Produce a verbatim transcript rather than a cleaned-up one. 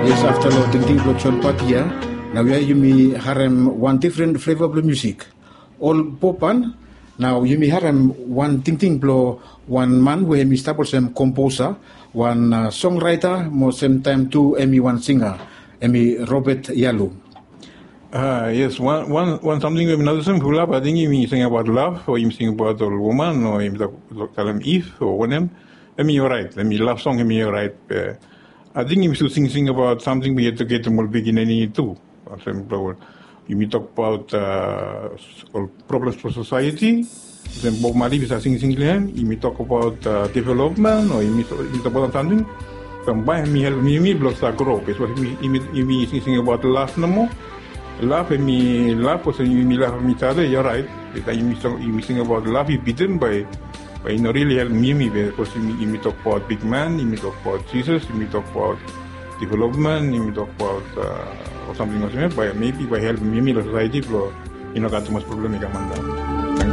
Yes, afta long tingting blong John Patia, nau ya yumi harem wan difren fleva blong musik. Ol Popan, nau yumi harem wan tingting blong wan man we hemi stap olsem komposa, wan songwriter mo semtaem tu hemi wan singa, hemi Robert Yalu. Yes, wan samting we mi notisim, fulap ating yumi singabaot lav o yumi singabaot ol woman o yumi talem if o wanem, hemi oraet, hemi lav song hemi oraet. Be ating yumi stil singsing abaot samting we i ejuketem ol pikinini tu. Olsem blong yumi tokbaot ol problems blong sosaeti. Olsem Bob Marley i save singsing long hem, yumi tokbaot developmen o yumi tokbaot wan samting, bae hemi helpem yumi blong stap gro. Bikos yumi singsing abaot lav nomo. Lav hemi lav, olsem yumi lavem each other i oraet. Be taem yumi singabaot lav i bitim, bae i no rili helpem yumi. Bikos yumi tokbaot bigman, yumi tokbaot Jisas, yumi tokbaot developmen, yumi tokbaot ol samting olsem ya, bae mebi bae i helpem yumi long sosaeti blong i no gat tumas problem i kam antap.